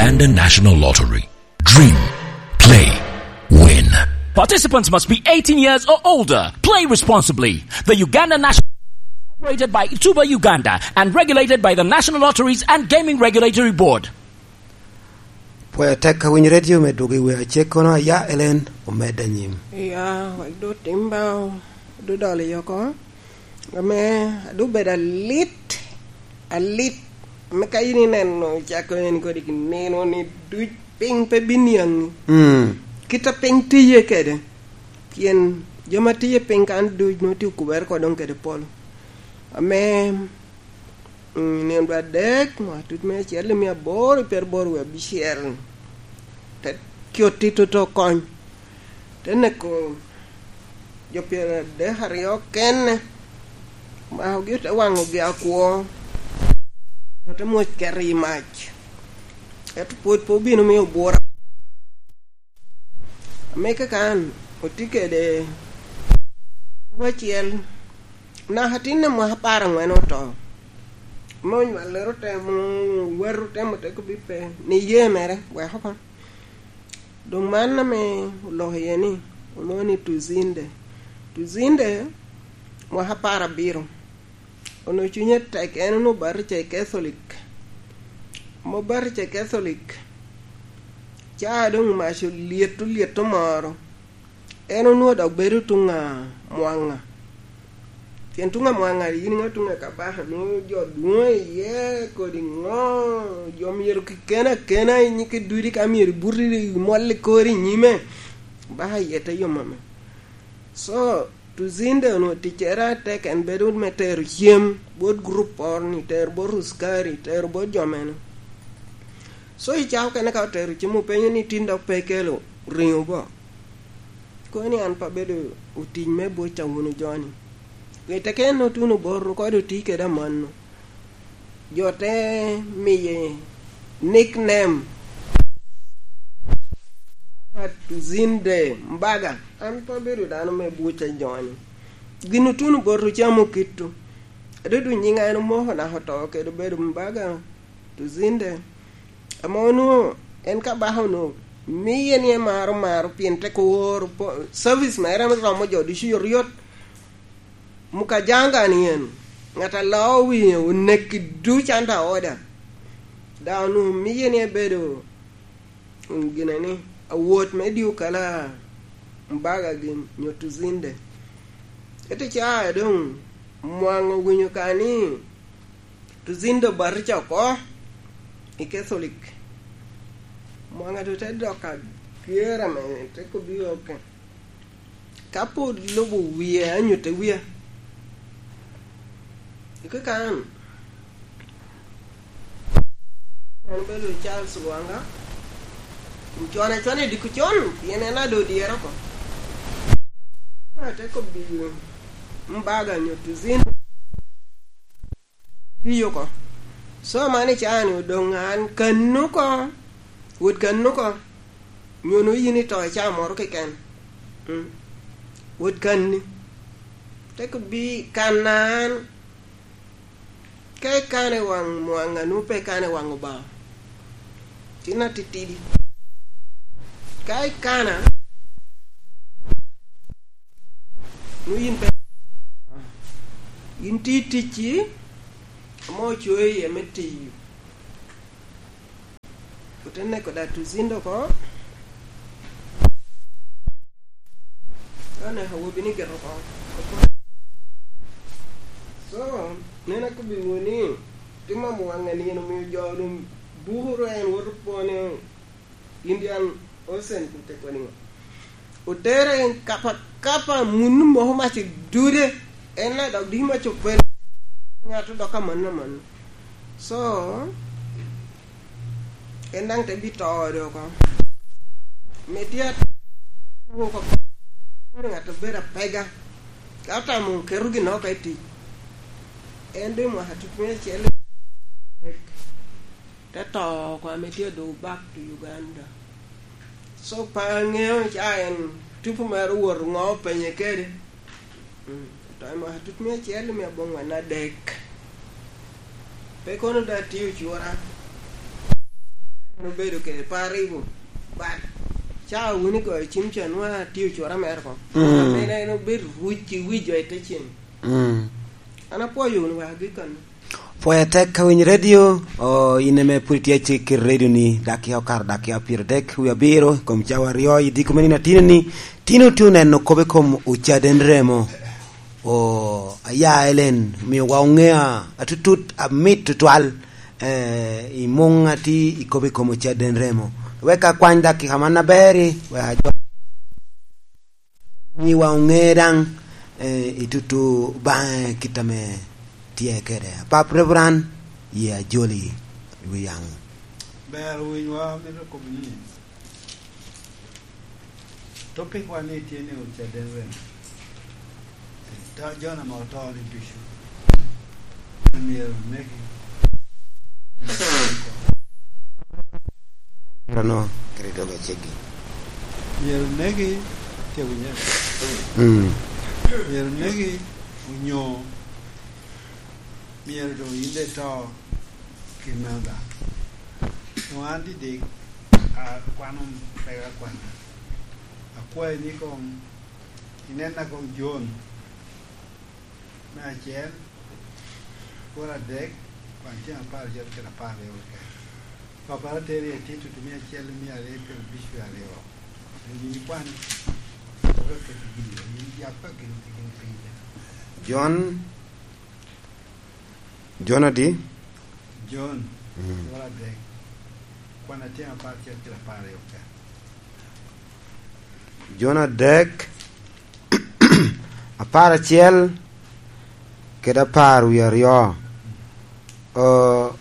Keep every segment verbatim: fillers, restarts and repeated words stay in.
Uganda National Lottery. Dream, play, win. Participants must be eighteen years or older. Play responsibly. The Uganda National, operated by Tuba Uganda and regulated by the National Lotteries and Gaming Regulatory Board. Pwod atek ka winyo redio me dwogo i wi acek kono aya, Ellen, omed anyim. Iya, wek doŋ otim ba ododolo i oko. Ame, adwogo bedo alit, alit. Ame ka in ineno cako en kodi nino ni duc piny pe biniaŋi. Mm. Kit a piny tiye kede. Pien jo ma tiye piny kan duc nwoŋo tye okubere ko doŋ kede polo. Ame, mm, nino dwe adek, mwaka tut me acel i mia aboro i pyeraboro wie abicel. Te coti toto kony. Te neko jo pyeradek aryo kene, omakogi ote waŋogi akwo, ote mwoc keto i mac, ento pwod pe obino mio bura. Ame kaka an otye kede acel, naka tin i mwaka apar aŋwen oto, ame onywallere otemo, watu otemo te kobbi pe, ni ye mere, wek oko. Doŋ man ame oloko iye ni, olwoŋo ni Tuzinde. Tuzinde, mwaka apar abiro. Onwoŋo cunye tek, en onwoŋo batija i Catholic. Ame obatija i Catholic, ca doŋ mac olyet, olyet omoro. En onwoŋo dok bedo tuŋ a Mwaŋa. Pien tuŋ a Mwaŋa, yin iŋeo tuŋ a Kabaka, nwoŋo jo dwoŋo iye kodi ŋo, jo myero keken akena i nyikki ducu ka myero ibuti imol i kori i nyime. Baka iye te yom ame. So, Tuzinde onwoŋo ticcere atek, en bedo me tero cem bot gurup oro-ni, tero bot ruskari, tero bot jo mene. So, i cako kene ka otero cem openyo ni, "Tin dok pe ikelo riŋo bo?" Kono ni an pe abedo otic me buc a wunu jo-ni. Pi teke en otuno bot ru kode oti kede amanno. Jo te miye nickname, Tuzinde Mbaga. An pe abedo dano me buc a jo-ni. Gin otuno bot ru camo kitu. Adodo nyiŋa en omoko naka oto kede obedo Mbaga Tuzinde. Ame onwoŋo en Kabaka onwoŋo miye ni emaro maro pien tek oworo po-, service mere ame romo jo ducu oryot. Mukajanga ni en, ŋat a loo wie oneki duc under order. Daŋ onwoŋo miye ni ebedo, mm, gine ni, awot me dyo kala Mbaga gin nyo Tuzinde. Ete ca doŋ Mwaŋa owinyo ka ni, Tuzinde obatija oko i Catholic. Mwaŋa doŋ te dok ager ame te kobbi, "Oke. Ka pwod lubo wie, anyutte wia." Ike kan, en obedo Charles Wanga, ocone acona i diko con, pien en ado dyere oko. Ate kobbi Mbaga nyo Tuzinde. Tiyo oko. So, man i caa-ni odoŋ an kanno oko, wot kanno oko, nyo nwoŋo yin ito i caa moro keken. Mm. Wot kanni. Te kobbi kanna an, ka ikano i waŋ Mwaŋa, nwoŋo pe ikano i waŋ Obaŋa. Tin atitidi. Ka ikana, nwoŋo yin pe, yin tye i ticci, ame ocoyo iye me tiyo. Ote neko da Tuzinde oko. Ka oneko awobi ni gito oko. So, nen akobbiwu ni, tim a Mwaŋa nino omio jo doŋ bukoro en woto pwone Indian Ocean kun te koni ŋo. Otere en kapa kapa, munu moko mac i dude. En na dok diki mac opel. Ŋato dok amanno amanno. So, en daŋ te bito ode oko. Me tye at-, oko, bedo ŋat obedo apega. Ka otamo keto gin oko i tic. En doŋ i mwaka tut me acel te to oko ame tye adoŋo back to Uganda. So, pe aŋeo ca en tipo mere owoto ŋo openye kede. Mm, to i mwaka tut me acel i mia aboŋwen adek. Pe kono da tye ocura. An obedo kede par i wun, but cawa wun igoyo cim ca nwa tye ocura mere oko. Mm. Amina en obedo ruc i wi jo i te cim. Mm. An apwoyo wunu waka gi kanni. Pwoya tek ka winyo redio, o, in ame pwod itye acik kede redio ni, dakika okato dakika pyeradek wie abiro, i kom cawa aryo, i diko me nino atino ni, tino tye oneno kop i kom ocaden remo. O, aya Elen, omiowa oŋea atutut, amit tutwal, eh, i muŋ atye i kop i kom ocaden remo. Wek akwany dakika man aber-ri, wek ajo-, miwa oŋe daŋ, eh, i tutu baŋe kit ame tye kede. Apap Reverend, ye ajoli i wi yaŋ. Ber owinywa, amito kobo ni, topikwa ni tye ni ocaden remo. To Jona ame oto ni ducu myero oneki. Kara no, kede dogo aceggi. Myero oneki, tye winyo? Mm. Myero oneki, onyo myero doŋ yin de to kin me Obaŋa. Doŋ an didik, akwano pega kwana. Akwayi ni koŋ inenna koŋ Jon me acel, kwor adek, kwan tyen apar acel kede apar aryo keken. Papara teri i Tito, mia acel, mia aryo, pyero abic, pyero aryo. Yin ikwan, oketo gin, yin yap ka gin, gin piny. Jon, Jon adi? Jon, mm, kwor adek, kwan tyen apar acel kede apar aryo keken. Jon adek, apar acel kede apar wie aryo. O,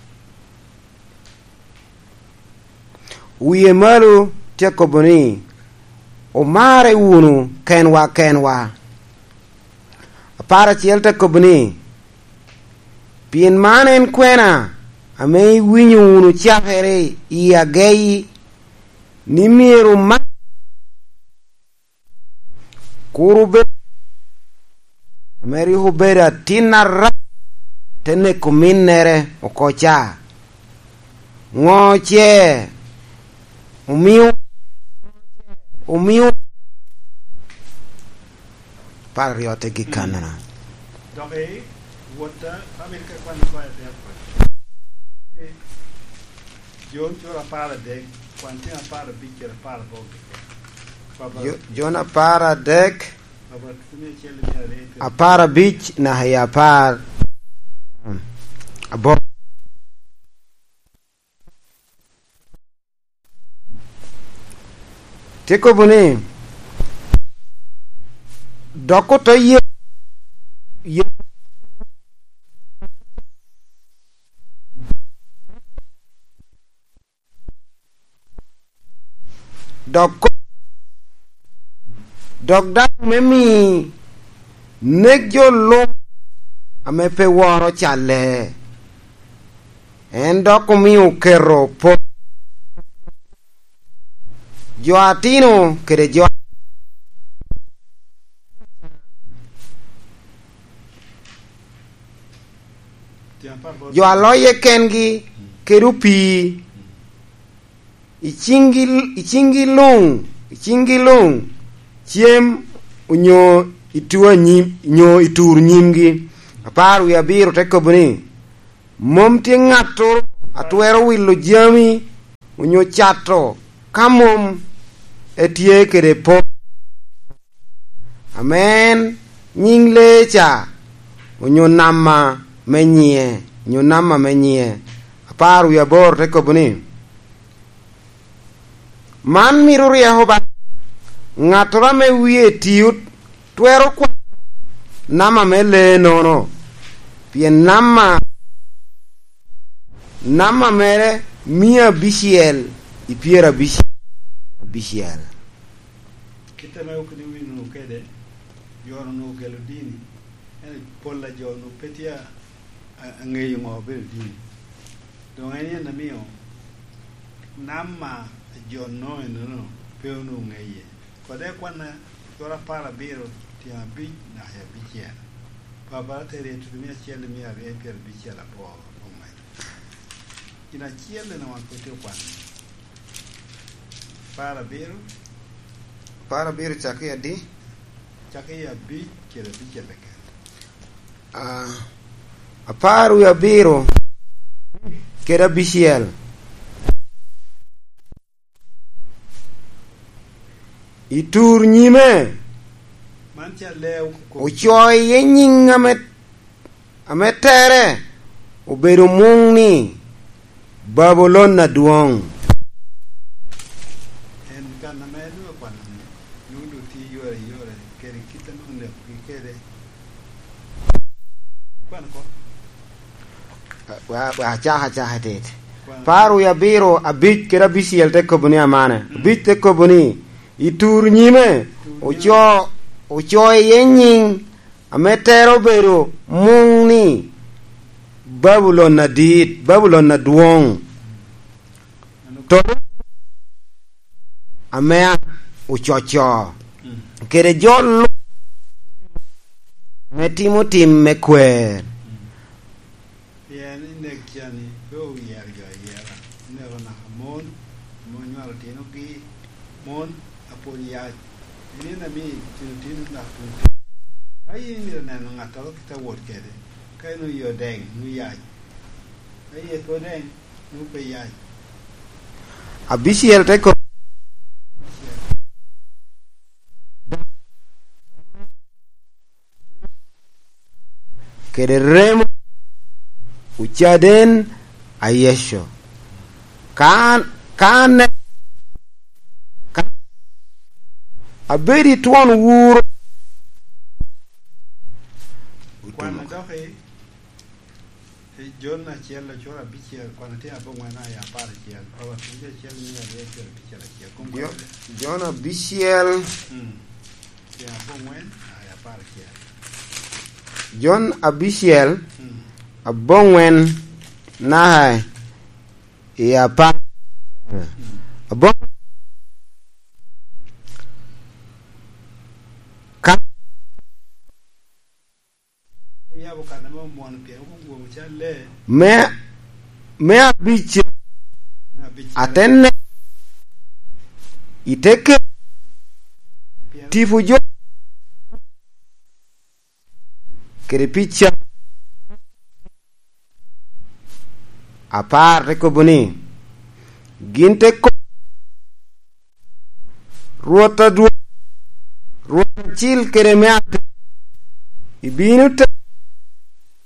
wie malo tye akobo ni, "Omarre wunu kenwa kenwa." Apar acel te kobo ni, "Pien man en kwena ame iwinyo wunu cakere i ageyi, ni myero ma-, kur obed, ame rik obedo atin arac, te neko ominnere oko ca." Ŋo ce omio, omio apar aryo te gik kannono? Dok i wotta, amito ka kwan i kwaya te apar. Jon cura apar adek, kwan tyen apar abic kede apar aboro keken. Papa. Jo-, Jon apar adek, apar abic naka i apar aboro. Tye kobo ni, dok oto ye, ye, dok ko-, dok daŋ me mi nek jo luŋ ame pe woro calle. En dok omio oketo po-, jo atino kede jo, jo a loye kengi kede opii. I ciŋgi, i ciŋgi luŋ, i ciŋgi luŋ, cem onyo i tu anyim, onyo i tur nyimgi. Apar wie abiro te kobo ni, mom tye ŋattoro a twero wilo jami onyo cato ka mom etye kede pok. Amen. Nyiŋ lee ca, onyo nama me nyiŋe, onyo nama me nyiŋe. Apar wie aboro te kobo ni, man mito ryeko ba, ŋattoro ame wie tio twero kwano nama me lee-nono, pien nama, nama mere mia abicel i pyerabic-, abicel. Kit ame okene owinyo kede, jo onwoŋo ogelo dini, ento pol a jo onwoŋo pe tye a, a, aŋeyo ŋo obedo dini. Doŋ en en amio nama a jo onwoŋo enono pe onwoŋo ŋeye. Kode kwanna cura apar abiro tyen abic naka i abicel. Papa ateri i tutu mia acel i mia aryo i pyerabicel aboro oŋwen. Gin acel en awan pe tye okwano. Apar abiro. Apar abiro cakki adi? Cakki abic kede abicel keken. Ah, apar wie abiro kede abicel. I tur nyime, man ca le ocoyo iye nyiŋ ame, ame tere obedo muŋ ni Babulon adwoŋ. En kan ame nwoŋo kwano ni, nwoŋo doŋ tye yore yore kede kit ame onekogi kede. Kwan oko. Wa, wa, acaka, acaka tit. Kwan. Apar wie abiro, abic kede abicel te kobo ni amane. Mm. Abic te kobo ni, i tur nyime, oco, oco iye nyiŋ ame tere obedo muŋ ni Babulon adit, Babulon adwoŋ. To ame ococo, mm, kede jo lu-, ame timo tim me kwer. Mm. Pien i nek ca-ni pe oyero jo ayera, oneko naka mon, ame onywalo otinogi, mon a pwod yac. En en ame tino tino naka tun. Ka in imito neno ŋattoro kit a wot kede, ka en oye odeŋ, nwoŋo yac. Ka iye pe odeŋ, nwoŋo pe yac. Abicel te ko-, kede remo ocaden a Yecu. Ka, ka ne, ka abedo i twon wuro, kwan a dok i, i Jon acel, acel abicel, kwan atye aboŋwen a i apar acel, Roma acel, mia aryo acel abicel acel. Kom Jo-, kwede. Jon abicel. Mm. Tye aboŋwen, a, i apar acel. Jon abicel, mm, aboŋwen, naka i apar. Mm. Aboŋ-, ka yabo kan ame omwono pien wun gwomo cal lee. Me, me abicel, me abicel. Atenne i te ke-, pien tipo jo kede pica. Apar te kobo ni, gin te ko-, Rwot adwoŋ, Rwot acil kede me atek, ibino te